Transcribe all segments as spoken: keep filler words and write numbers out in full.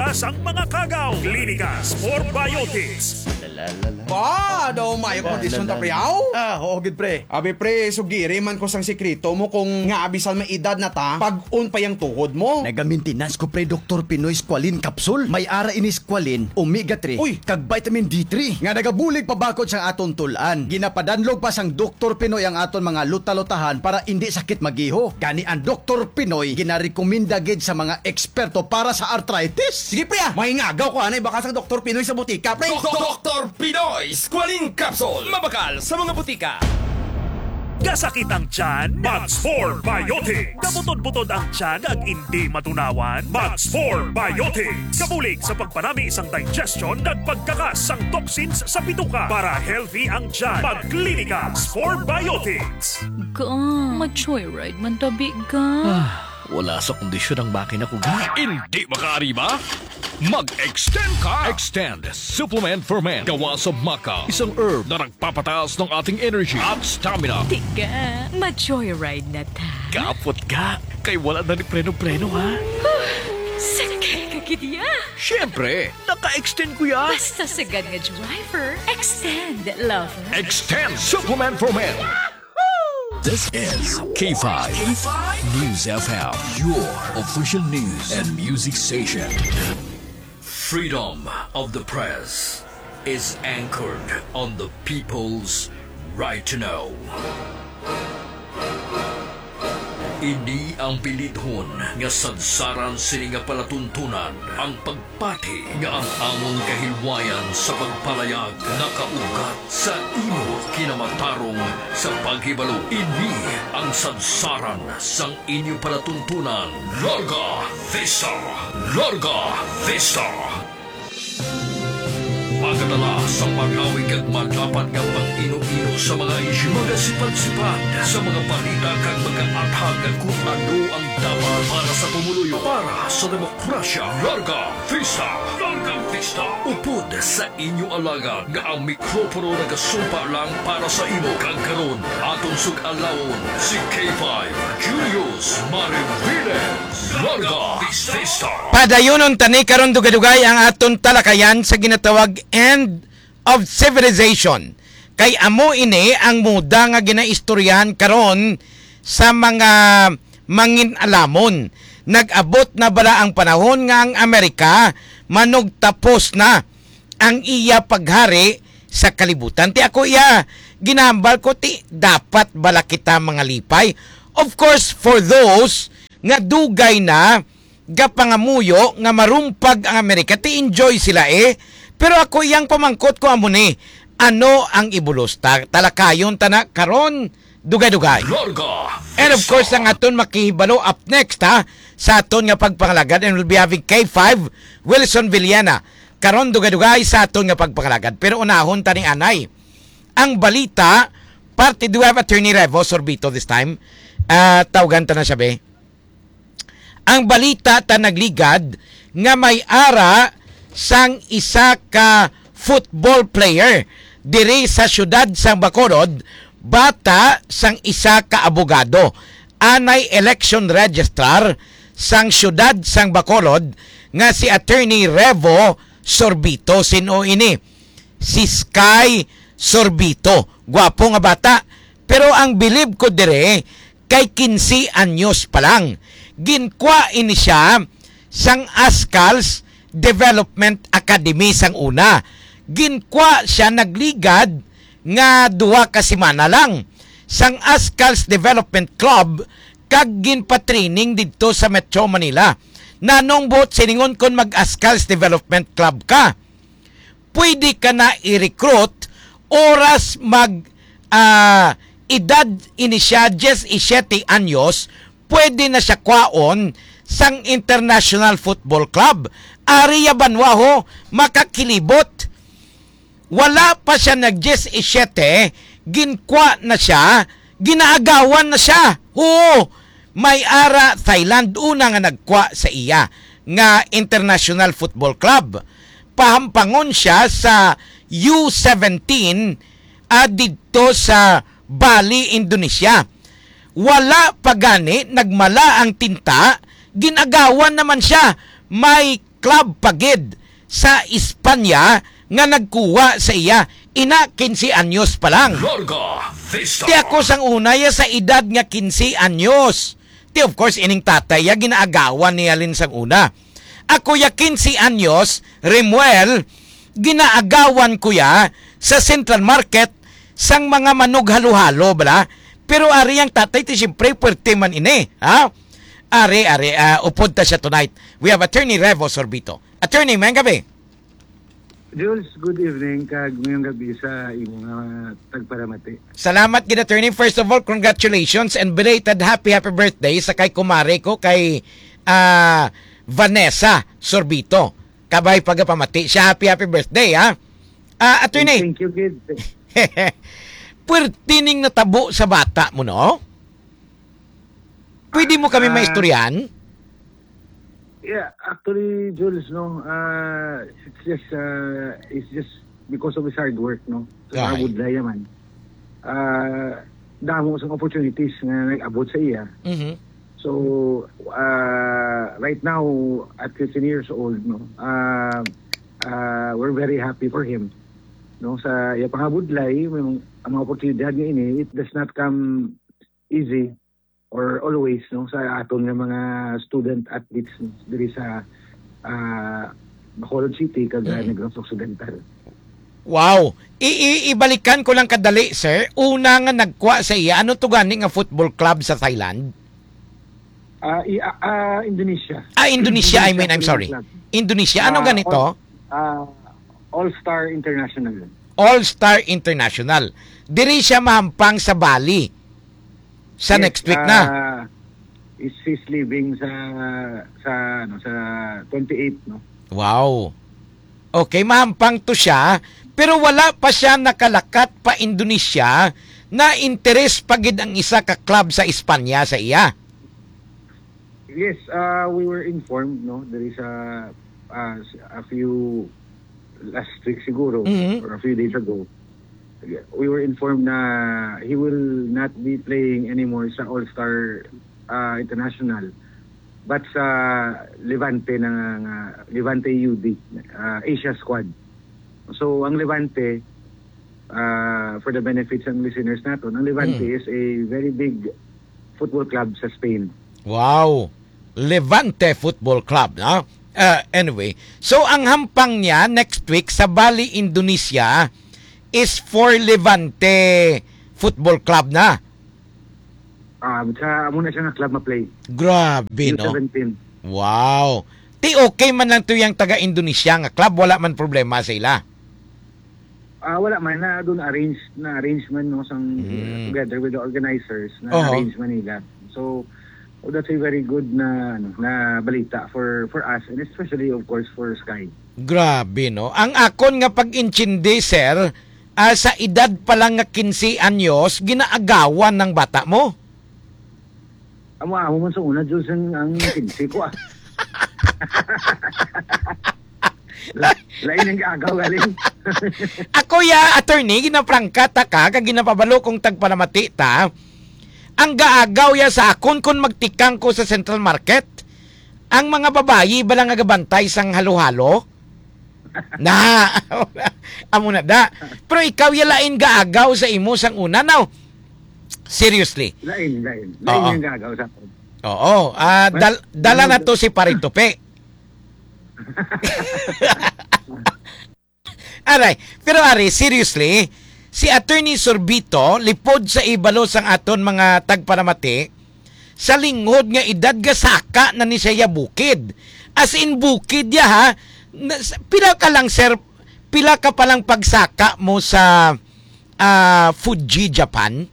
Sang mga kagaw, Clinicas for Biotics. Ba, daw may kondisyon ta, pre, aw? Ah, oo, gid, pre. Abi, pre, sugiri man ko sang sikreto mo kung nga bisan may edad na ta, pag-on pa yang tuhod mo. Nagamentenas ko, pre, Doktor Pinoy Squalene Capsule. May ara ini squalene, omega three, Uy! kag vitamin D three nga nagabulig pabakod sang aton tul-an. Ginapadanlog pa sang Doktor Pinoy ang aton mga luta-lutahan para indi sakit magiho. Gani ang Doktor Pinoy ginarekomenda gid sa mga eksperto para sa arthritis. Sige, pre, ah. May ngagaw ko anay baka sang Doktor Pinoy sa butika, pre. Doktor Pinoy Squalene Capsule. Mabakal sa mga butika. Kasakit ang tiyan? Mag Spore Biotics. Kabutod-butod ang tiyan ag indi matunawan? Mag Spore Biotics. Kabulig sa pagpanami sang digestion kag pagkakas sang toxins sa bituka para healthy ang tiyan. Mag Clinica Spore Biotics. Ga, ma-joyride man tabi, ga. Ah, wala sa kondisyon ang makina ko, ga. Hindi makaariba? Mag-extend ka! Extend Supplement for Men. Gawa sa maca, isang herb na nagpapataas ng ating energy at stamina. Tiga, ma-joyride na ta. Kapot ka, kay wala na ni preno-preno, ha? Sakay ka gid ya. Siyempre, naka-extend ko ya. Basta sagad nga driver, extend, lover. Extend Supplement for Men. This is K five News F M, your official news and music station. Freedom of the press is anchored on the people's right to know. Ini ang bilidhon nga sadsaran sini nga palatuntunan, ang pagpati nga ang amon kahilwayan sa pagpalayag nakaugat sa imo kinamatarong sa paghibalo. Ini ang sadsaran sang inyo palatuntunan. Larga Vista! Larga Vista! Magadala sa marawi kag malapad nga pag-ino-ino sa mga isyu, magasipad-sipad sa mga balita kag magaathag kung ano ang dapat para sa pumuluyo, para sa demokrasya. Larga Vista! Larga Vista! Upod sa inyo alagad nga ang mikropono nagasumpa lang para sa imo, kag karon aton sug-alawon si K five Julius Mariviles. Larga Vista! Padayunon tani karon dugay-dugay ang aton talakayan sa ginatawag end of civilization. Kay amo ini ang moda nga ginaistoryahan karon sa mga mangin-alamon. Nag-abot na bala ang panahon nga ang Amerika manugtapos na ang iya paghari sa kalibutan? Ti ako iya ginahambal ko, ti dapat bala kita mangalipay? Of course, for those nga dugay na gapangamuyo nga marumpag ang Amerika, ti enjoy sila, eh. Pero ako iyang pamangkot ko amo ni, ano ang ibulos? Ta-, talakayon ta na karon, dugay-dugay. Larga And of Vista. Course, ang aton makihibalo up next, ha, sa aton nga pagpangalagad, and we'll be having K five, Wilson Villena. Karon, dugay-dugay sa aton nga pagpangalagad. Pero unahon ta ni anay. Ang balita, parte, do we have Attorney Revo Sorbito this time? Ah, tawgan ta na siya, be. Ang balita ta nagligad nga may ara sang isa ka football player diri sa siyudad sang Bacolod, bata sang isa ka abogado. Anay election registrar sang siyudad sang Bacolod nga si Attorney Revo Sorbito. Sin-o ini? Si Sky Sorbito. Gwapo nga bata. Pero ang bilib ko dire kay quince anyos pa lang. Ginkwa ini siya sang Ascals Development Academy sang una. Ginkwa siya nagligad nga duha ka semana lang sang Ascals Development Club kag ginpatraining didto sa Metro Manila. Nanong buot silingon kon mag-Ascals Development Club ka? Pwede ka na i-recruit oras mag, ah, edad ini siya diyes y siyete anyos, pwede na siya kwaon sang International Football Club. Ari ya banwa ho, makakilibot. Wala pa siya nag diyes y siyete, ginkwa na siya, ginaagawan na siya. Oo, may ara Thailand una nga nagkwa sa iya nga International Football Club. Pahampangon siya sa U seventeen, ah, didto sa Bali, Indonesia. Wala pa gani nagmala ang tinta, ginagawan naman siya. May club pa gid sa Espanya nga nagkuha sa iya, ina, quince anyos pa lang. Larga Vista. Ti ako sang una ya sa edad nga quince anyos. Ti, of course, ining tatay ya ginaagawan niya lin sang una. Ako ya quince anyos, Remuel, ginaagawan ko ya sa Central Market sang mga manug halo-halo, bala. Pero ari ang tatay, ti siyempre, puwerte man ini, ha? Ari, ari, ah, upod ta siya tonight. We have Attorney Revo Sorbito. Attorney, mayong gabi. Jules, good evening, kag mayong gabi sa imo nga tagparamati. Salamat gid, Attorney. First of all, congratulations and belated happy, happy birthday sa kay kumare ko, kay, ah, Vanessa Sorbito. Kabay pagapamati siya. Happy, happy birthday, ha? Ah, Attorney. Thank you, kid. Puwerte ning natabo sa bata mo, no? Pwede mo kami Ah, maistoryahan? Yeah, actually, Jules, no, ah, it's just, ah, it's just because of his hard work, no? Sa Ay. Budlay man. Ah, damo sang opportunities nga nag-abot sa iya. Mhm. So, ah, right now, at fifteen years old, no, ah, ah, we're very happy for him. No, sa iya pangabudlay, may mga, ang mga oportunidad nga ini, it does not come easy or always, no, sa aton nga mga student athletes, no, diri sa, ah, Bacolod City kag, ah, Mm. Negros Occidental. Wow. I, i, ibalikan ko lang kadali, sir. Una nga nagkuha sa iya, ano to gani nga football club sa Thailand? Ah, i, ah, ah, Indonesia. Ah, Indonesia, I Indonesia mean, I'm Football sorry. Club. Indonesia, ano Ah, gani to? All, ah, All Star International. All Star International. Diri siya mahampang sa Bali. Sa Yes, next week na. ah, is, he's leaving sa, sa, ano, sa twenty-eight, no? Wow. Okay, mahampang to siya, pero wala pa siya nakalakat pa Indonesia, na interes pa gid ang isa ka club sa Espanya sa iya. Yes, uh, we were informed, no, there is a, uh, s- a few last week siguro, Mhm. or a few days ago. We were informed na he will not be playing anymore sa All-Star, uh, International, but sa Levante na nga, Levante U D, uh, Asia squad. So, ang Levante, uh, for the benefits ng listeners naton, ang Levante Mm. is a very big football club sa Spain. Wow! Levante Football Club, no? Uh, anyway, so ang hampang niya next week sa Bali, Indonesia is for Levante Football Club na. Ah, sa amo na siya nga club ma-play. Grabe, no? U seventeen. Wow. Ti okay man lang to yang taga Indonesia nga club, wala man problema sa ila. Ah, wala man na doon arrange na arrangement, no, sang Mm. together with the organizers na Oho. arrange man nila. So, oh, that's a very good na, ano, na balita for for us and especially, of course, for Sky. Grabe, no? Ang akon nga pag-intindi, sir, ah, sa edad pa lang nga quince anyos, ginaagawan ng bata mo? Amo, amo man sa una, Diyos, ang, ang quince ko, ah. La-, lain ang agaw, galing. Ako ya, attorney, ginaprangka ta ka, kag ginapabalo kong tagpalamati ta. Ang gaagaw ya sa akon kung magtikang ko sa Central Market. Ang mga babayi ba lang nga gabantay sang halo-halo? Na, amo na da. Pero ikaw ya lain gaagaw sa imo sang una, no? Seriously. Lain, lain. Lain Oo. Yung gaagaw sa akin. Oo. Ah, Mas, dal-, dala na ano, to si Pare Tupi. Aray, pero ari, seriously, si Attorney Sorbito, lipod sa ibalo sang aton mga tagparamati, sa linghod nga edad gasaka na ni siya bukid. As in, bukid ya, ha? Na, s-, pila ka lang, sir? Pila ka pa lang pagsaka mo sa, ah, Fuji, Japan?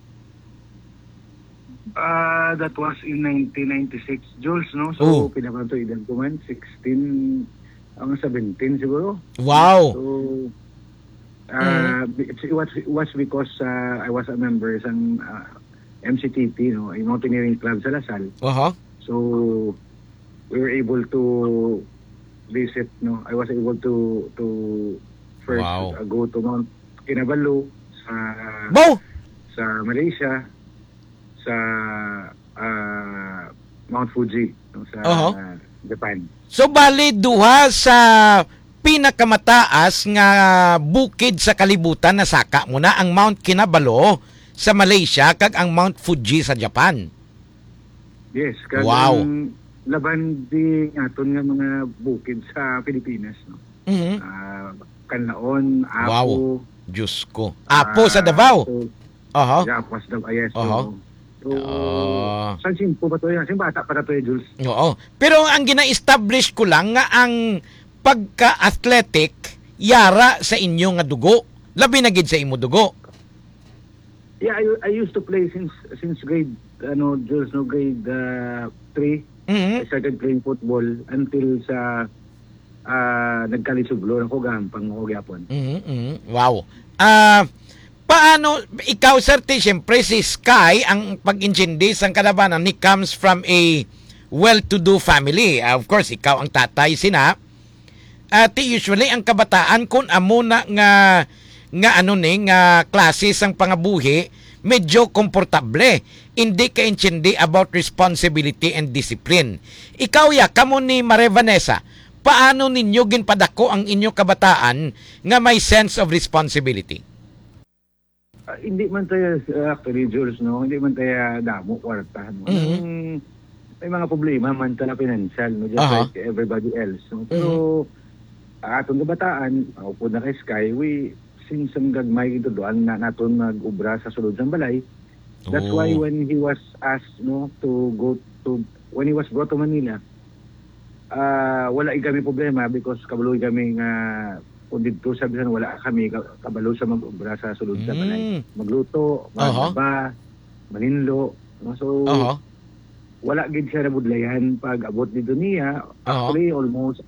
Ah, that was in nineteen ninety-six, Jules, no? So, Oh. pila man to edad ko man? Sixteen, ang seventeen siguro. Wow. So, ah, Mm. it was, it was because, ah, I was a member sang, ah, M C T P, no? A mountaineering club sa Lasal. Aha. So, we were able to visit, no? I was able to, to first, Wow. uh, go to Mount Kinabalu sa, Bo! sa Malaysia, sa, uh, Mount Fuji, no? Sa, Aha. Japan. So, bali, duha sa pinakamataas nga bukid sa kalibutan nasaka mo na, ang Mount Kinabalu sa Malaysia kag ang Mount Fuji sa Japan. Yes, kag Wow. ang laban di naton nga mga bukid sa Pilipinas, no? Mhm. Ah, Canlaon, Apo. Wow. Diyos ko. Apo sa Ah, Davao? so, Aha. Yeah, Apo sa Davao, yes, Aha. so, so, Ah. sang simpo pa to yan. Sing bata pa na to, eh, Jules. Oo. Pero ang gina-establish ko lang nga ang pagka-athletic, yara sa inyo nga dugo. Labi na gid sa imo dugo. Yeah, I, I used to play since, since grade, ano, Jules, no, grade, uh, three. Mhm. I started playing football until sa, ah, nagkalisublo ako, gahampang ako gyapon. Mhm, mhm. Wow. Ah, paano, ikaw, sir, ti, siyempre, si Sky, ang pag-intindi sang kalabanan, he comes from a well-to-do family. Ah, of course, ikaw ang tatay sina. Ati, usually, ang kabataan, kun amo na nga, nga ano ni, nga klase sang pangabuhi, medyo komportable. Hindi kaintindi about responsibility and discipline. Ikaw, ya, kamo ni Mare Vanessa, paano ninyo ginpadako ang inyo kabataan nga may sense of responsibility? Ah, hindi man tayo, uh, actually, Jules, no? Hindi man tayo damo kwarta, no? Mhm. Ang, may mga problema man tayo financial, no? Just Aha. like everybody else, no? Pero, Mhm. ah, atong kabataan, ah, upod na kay Sky, we, since ang gagmay, ito doon na naton mag-ubra sa sulod sang balay. That's why Oh. when he was asked, no, to go to, when he was brought to Manila, ah, wala gid kami problema because kabalo gid kami nga kung didto sa bisan wala kami ka-, kabalo sa mag-obra sa sulod sa balay. Mm. Magluto, Aha. maglaba, maninlo, no? So, Aha. wala gid siya nabudlayan pag abot dito niya. Aha. Actually, almost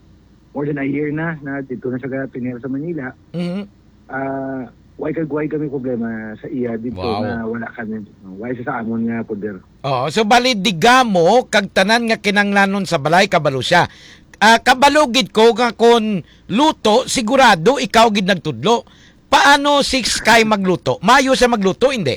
more than a year na, na dito na siya tinira sa Manila. Mhm. Ah, why kag why kami problema sa iya dito Wow. na wala kami, why sa, sa amon nga poder. Oo, so bali, digamo kag tanan nga kinanglanon sa balay, kabalo siya. Ah, kabalo gid ko nga kon luto, sigurado ikaw gid nagtudlo. Paano si Sky magluto? Maayo siya magluto, hindi?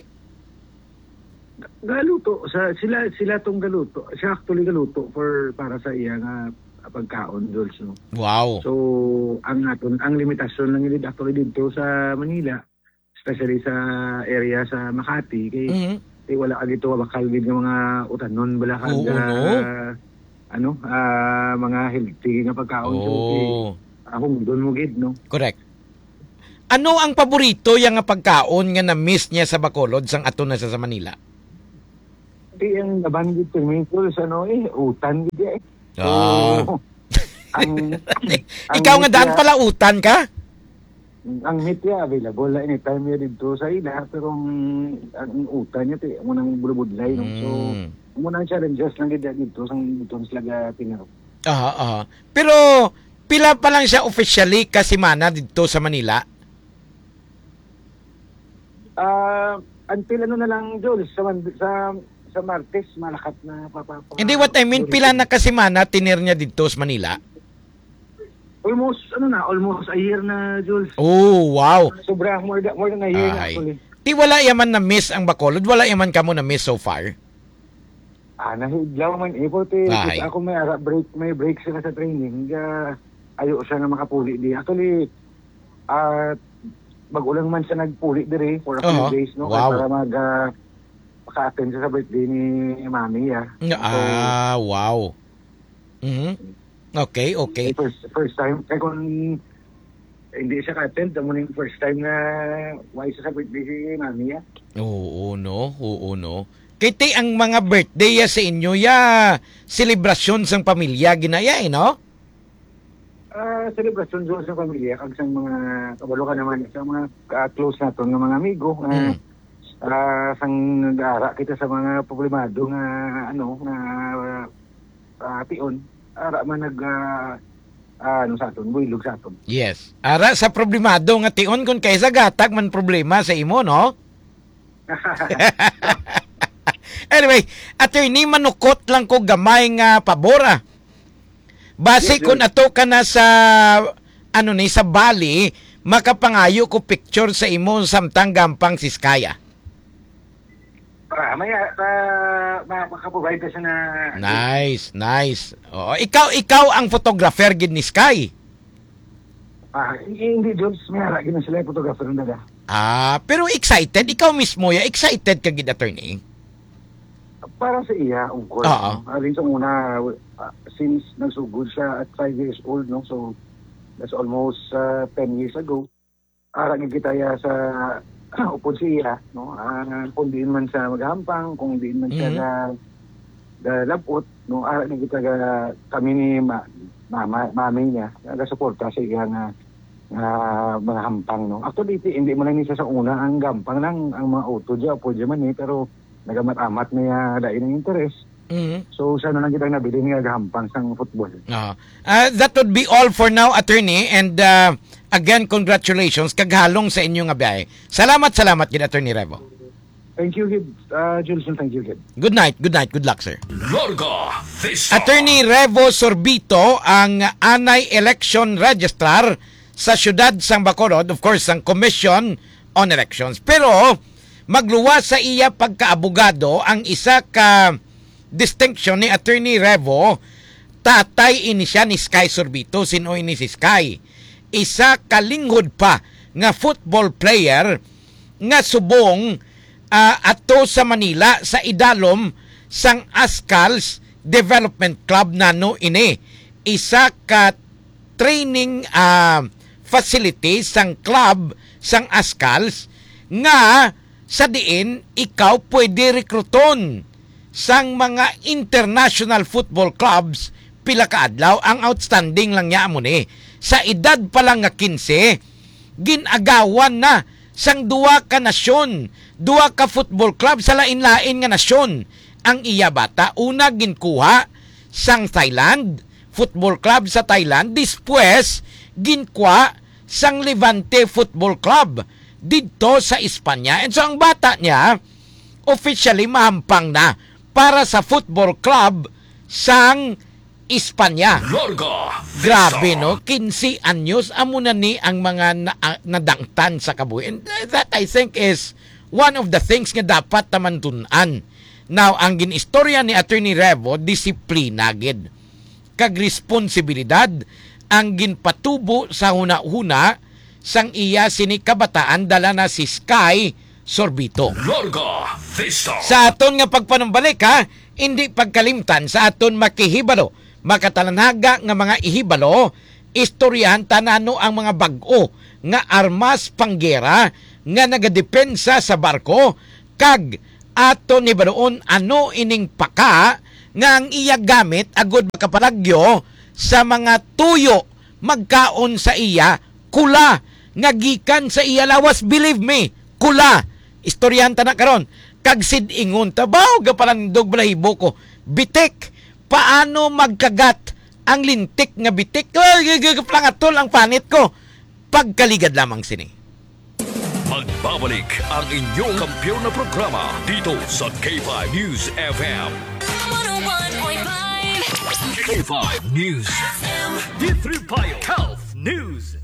Galuto sa sila, sila tong galuto. Siya actually galuto for, para sa iya nga pagkaon, Jules, no? Wow. So, ang aton, ang limitasyon lang gid actually dito sa Manila, especially sa area sa Makati, kay, Mhm. kay wala ka dito bakal gid nga mga utanon, bala ka Oo, ga-, no? ano, ah, mga healthy nga pagkaon. So, Oh. kay, ah, hungdon mo gid, no? Correct. Ano ang paborito ya nga pagkaon nga na-miss niya sa Bacolod sang ato na sa, sa Manila? Di ang nabanggit ko, Michael, sa ano, eh, utan gid, eh. Ah. So, ang, ang Ikaw nga daan media pala utan ka? Ang meat ya available na anytime ya dito sa ila, pero ang, ang utan niya, ti, amo nang bulubudlay, no? So, Mm. amo nang challenges lang gid dito sa, dito sa sila ga tinarap. Aha, aha. Pero pila pa lang siya officially ka semana dito sa Manila? Ah, until ano na lang, Jules, sa Mand-, sa, sa Martes, malakat na pa, pa, pa, Hindi, what I mean, pila na ka semana tinir niya dito sa Manila? Almost, ano na, almost a year na, Jules. Oh, wow. Sobra, more than, more than a year na, Ahay. actually. Ti wala yaman na-miss ang Bacolod? Wala yaman kamo na-miss so far? Ah, nahidlaw man, eh, pati Ahay. ako may ara-, break, may break sila sa training. Ga, ayo siya nga makapuli di. Actually, ah, bago lang man siya nagpuli diri for a few Aha. days, no? Kaya Wow. para mag, ah, maka-attend siya sa birthday ni Mami, ah. Nga, So, ah, wow. Mhm. Okay, okay. Eh, first, first time, eh, kung hindi siya ka-attend, amo na yung first time na why siya sa birthday si Mami, ah. Oo, no? Oo, no? Kay ti ang mga birthday ya sa inyo, ya, selebrasyon sang pamilya, ginaya, eh, no? Ah, selebrasyon doon sa pamilya, kag sang mga kabalo ka naman, sa mga, ah, close naton nga mga amigo, nga, Mm. ah, sang nag-aara kita sa mga problemado nga, ano, nga, ah, tion, ara man nag, ah, ah, ano sa aton, buylog sa aton. Yes. Ara sa problemado nga tion, kun kaysa gatag man problema sa imo, no? Anyway, attorney, manukot lang ko gamay nga pabor, ah. Basi Yes, kun sir. ato ka na sa, ano ni, sa Bali, makapangayo ko picture sa imo samtang gampang si Sky, ah. Ah, may, ah, pa, ma-, makaprovide na siya na Nice, nice. Oo, ikaw, ikaw ang photographer gid ni Sky. Ah, hindi, Jules, may ara gid na sila yung photographer ng dada. Ah, pero excited, ikaw mismo ya, excited ka gid, attorney. Para sa iya, of course. Oo. No? Alin sa una, ah, since nagsugod siya at five years old, no? So, that's almost, ah, ten years ago. Ara gid kita ya sa upod siya, no? Ah, kung diin man siya magahampang, kung diin man siya Mhm. ga-, galabot, no? Ara gid kita ga-, kami ni ma-, mama, mami niya, nagasuporta sa iya nga, nga mga hampang, no? Actually, ti-, hindi man lang ni siya sa una ang gampang lang, ang mga auto dya, upod dya man eh, pero nagamat-amat niya lain ang interes. Mhm. So, siya na lang kita nabilin nga gahampang sang football. Ah, ah, that would be all for now, attorney. And, ah, again, congratulations. Kaghalong sa inyo nga biyahe. Salamat, salamat gid, Attorney Revo. Thank you, gid, ah, Jules, and thank you, gid. Good night, good night, good luck, sir. Larga Vista. Attorney Revo Sorbito ang anay election registrar sa siyudad sang Bacolod, of course, sang Commission on Elections. Pero magluwas sa iya pagkaabogado ang isa ka distinction ni Attorney Revo, tatay ini siya ni Sky Sorbito. Sin-o ini si Sky? Isa ka linghod pa nga football player nga subong, ah, ato sa Manila sa idalom sang Ascals Development Club. Nano ini? Isa ka training, ah, facility sang club sang Ascals nga sa diin ikaw pwede rekruton sang mga international football clubs pila ka adlaw. Ang outstanding lang niya amo ni, sa edad pa lang nga kinse, gin-agawan na sang duha ka nasyon, duha ka football club sa lain-lain nga nasyon ang iya bata. Una, ginkuha sang Thailand, football club sa Thailand, dispwes ginkuha sang Levante Football Club didto sa Espanya. And so ang bata niya officially mahampang na para sa football club sang Espanya. Larga Vista. Grabe, no? Kinse anyos, amo na ni ang mga na-, ah, nadangtan sa kabuhi. And that, I think, is one of the things nga dapat taman tun-an. Now, ang gin-istorya ni Attorney Revo, disiplina gid kag responsibilidad ang ginpatubo sa hunahuna sang iya sini kabataan. Dala na si Sky Sorbito. Larga Vista. Sa aton nga pagpanumbalik, ha, hindi pagkalimtan sa aton makihibalo, makatalanaga nga mga ihibalo, istoryahan ta nano ang mga bag-o nga armas panggera nga nagadepensa sa barko, kag aton hibaluon ano ining paka nga ang iya gamit agud makapalagyo sa mga tuyo magkaon sa iya, kula nga gikan sa iya lawas. Believe me, kula. Istoryahan ta na karon. Kag sid-ingon ta, "Baw, gapalandog balahibo ko. Bitik, paano magkagat ang lintik nga bitik? Ay, g-, g-, pangatol ang panit ko." Pagkaligad lamang sini. Magbabalik ang inyong kampiyon na programa dito sa K five News F M. One oh one point five. K five News F M. D three Bio Health News.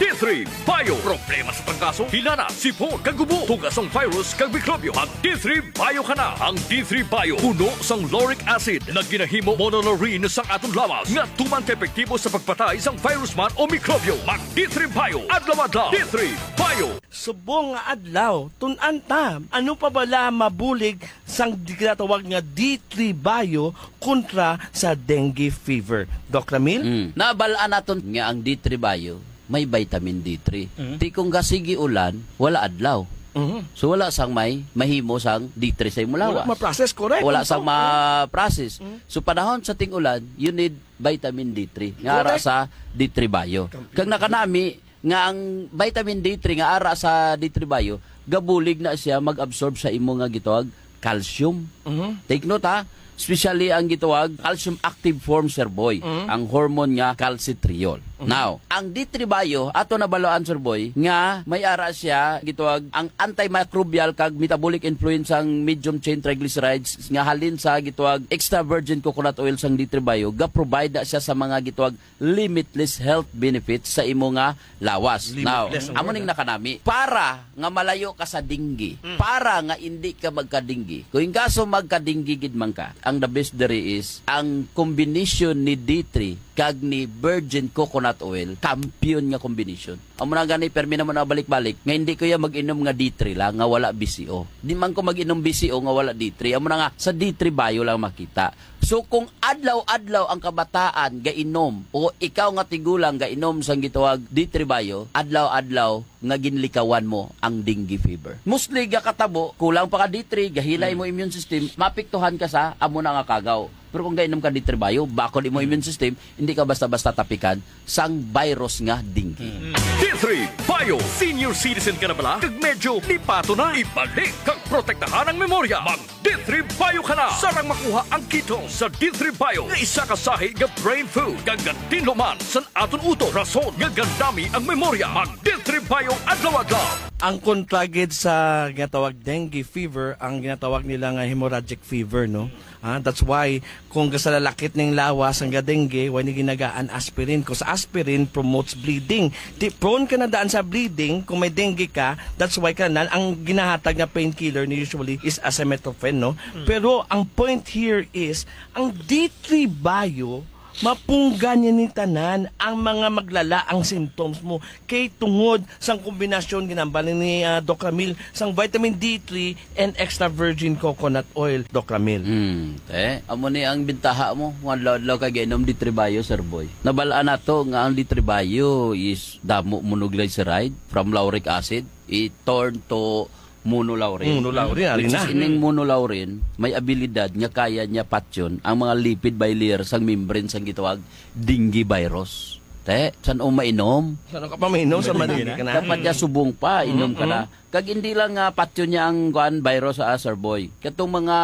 D three Bio. Problema sa panggaso, hilana, sipon, kag ubo, tuga sang virus kag mikrobyo. Mag D three Bio ka na. Ang D three Bio puno sang lauric acid nga ginahimo monolaurin sang aton lawas nga tuman ka epektibo sa pagpatay sang virus man o mikrobyo. Mag D three Bio adlaw-adlaw. D three Bio. Subong nga adlaw, tun-an ta, ano pa bala mabulig sang ginatawag nga D three Bio kontra sa dengue fever? Doc Ramil? Mm. Nabal-an naton nga ang D three Bio may vitamin D three. Mm. Ti kung gasigi ulan, wala adlaw. Mhm. So, wala sang may mahimo sang D three sa imong Wala lawas. ma-process, correct. Wala Ang sang tao, ma-process. Mm. So, panahon sa ting-ulan, you need vitamin D three. Nga ara Correct. sa D three Bio. Kam- Kag nakanami nga ang vitamin D three nga ara sa D three Bio, gabulig na siya mag-absorb sa imo nga gitawag calcium. Mhm. Take note, ha, especially ang gitawag calcium active form, sir boy, Mhm. ang hormone nga calcitriol. Now, ang D three Bio, ato nabalaan, Sir Boy, nga may ara siya gitawag ang antimicrobial kag metabolic influence sang medium chain triglycerides nga halin sa gitawag extra virgin coconut oil sang D three Bio, ga-provide na siya sa mga gitawag limitless health benefits sa imo nga lawas. Now, Limitless ang amo word, ning ah. nakanami. Para nga malayo ka sa dengue, Mm. para nga indi ka magka-dengue. Kung in kaso magka-dengue gid man ka, ang the best diri is ang combination ni D three kag ni virgin coconut oil, kampiyon nga combination. Amo na gani, permi na mo na balik-balik, nga hindi ko ya mag-inom nga D three lang, nga wala B C O. Di man ko mag-inom B C O nga wala D three. Amo na nga, sa D three Bio lang makita. So, kung adlaw-adlaw ang kabataan gainom, o ikaw nga tigulang gainom sang gitawag D three Bio, adlaw-adlaw nga ginlikawan mo ang dengue fever. Mostly gakatabo, kulang pa ka D three, gahilay Hmm. mo immune system, mapiktuhan ka sa amo na nga kagaw. Pero kung gainom ka D three Bio, bakod imo immune system, hindi ka basta-basta tapikan sang virus nga dengue. Hmm. D three Bio, senior citizen ka na bala? Kag medyo lipato na, ibalik kag protektahan ang memorya. Mag D three Bio ka na. Sarang makuha ang ketones sa D three Bio nga isa ka sahi nga brain food kag gatinlo man sa aton utok, rason nga gandami ang memorya. Mag D three Bio adlaw-adlaw. Ang kontra gid sa ginatawag dengue fever, ang ginatawag nila nga hemorrhagic fever, no? Ah, that's why kung gasalalakit ning lawas ang dengue, why ni ginagaan aspirin? 'Cause aspirin promotes bleeding. Di, prone ka na daan sa bleeding kung may dengue ka. That's why ka na, ang ginahatag nga painkiller ni usually is acetaminophen, no? Mm. Pero ang point here is, ang D three Bio, mapunggan niya ni tanan ang mga maglala ang symptoms mo. Kay tungod sang kombinasyon, ginambal ni, ah, Doc Ramil, sang vitamin D three and extra virgin coconut oil, Doc Ramil. Hmm, te, amo ni ang bintaha mo kung adlaw-adlaw ka gainom D three Bio, Sir Boy. Nabal-an nato nga ang D three Bio is damo monoglyceride from lauric acid, it turn to monolaurin. Monolaurin, ari Which na. is ining monolaurin, may abilidad nga kaya niya patyon ang mga lipid bilayer sang membrane sang gitawag dengue virus. Te, san-o mainom? San-o ka pa mainom sa Hindi madali na. ka na? Dapat niya subong pa, inom ka Mm-mm. na. Kag hindi lang nga patyon niya ang, kuan, virus, ah, Sir Boy. Katong mga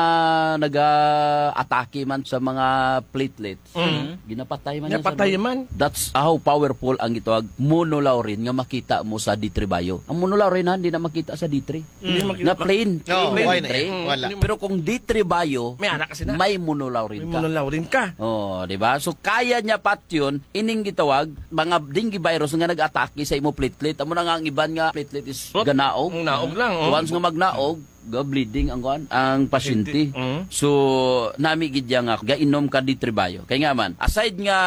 naga-atake man sa mga platelets, Mm. ginapatay man niya, Sir Napatay Boy. man. That's how powerful ang gitawag monolaurin nga makita mo sa D three Bio. Ang monolaurin, ha, hindi na makita sa D three. Hindi Mm. makita. Nga plain, No, plain why D three. na? Wala. Pero kung D three Bio, May anak kasi na. may monolaurin May ka. monolaurin ka. Oh, di ba? So, kaya niya patyon ining gitawag mga dengue virus nga nag-atake sa imo platelet. Amo na nga ang iban nga platelet is What? ganaog. Ang naog lang, oh. Once nga magnaog, ga bleeding ang kuan, ang pasyente. Pasyente, mm. So, nami gid ya nga gainom ka D three Bio. Kay nga man, aside nga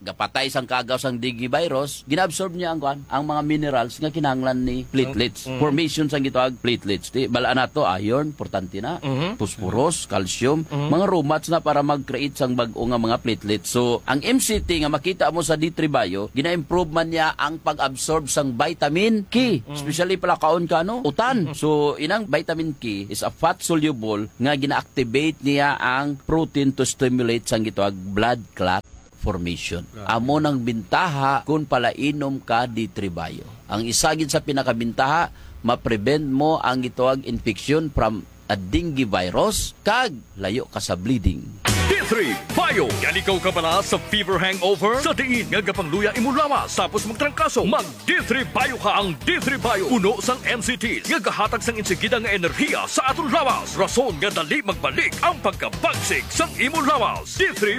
gapatay sang kagaw sang dengue virus, ginaabsorb niya ang kuan, ang mga minerals nga kinahanglan ni platelets. Mm. Formation sang gitawag platelets. Di, bala nato, iron, importante na. Mhm. Phosphorus, calcium, Mhm. mga romats na para mag-create sang bag-o nga mga platelets. So, ang M C T nga makita mo sa D three Bio, gina-improve man niya ang pag-absorb sang vitamin K, Mm. especially palakaon ka, no? Utan. Mm. So, inang vitamin K is a fat soluble nga gina-activate niya ang protein to stimulate sang gitawag blood clot formation. Grabe. Amo nang bintaha kung palainom ka D three Bio. Ang isa gid sa pinakabintaha, ma-prevent mo ang gitawag infection from a dengue virus, kag layo ka sa bleeding. D three Bio. Yan ikaw kabala sa fever hangover? Sa diin nga gapangluya imo lawas tapos magtrangkaso? Mag D three Bio ka. Ang D three Bio puno sang M C Ts nga gahatag sang insigida nga enerhiya sa aton lawas. Rason nga dali magbalik ang pagkabagsik sang imo lawas. D three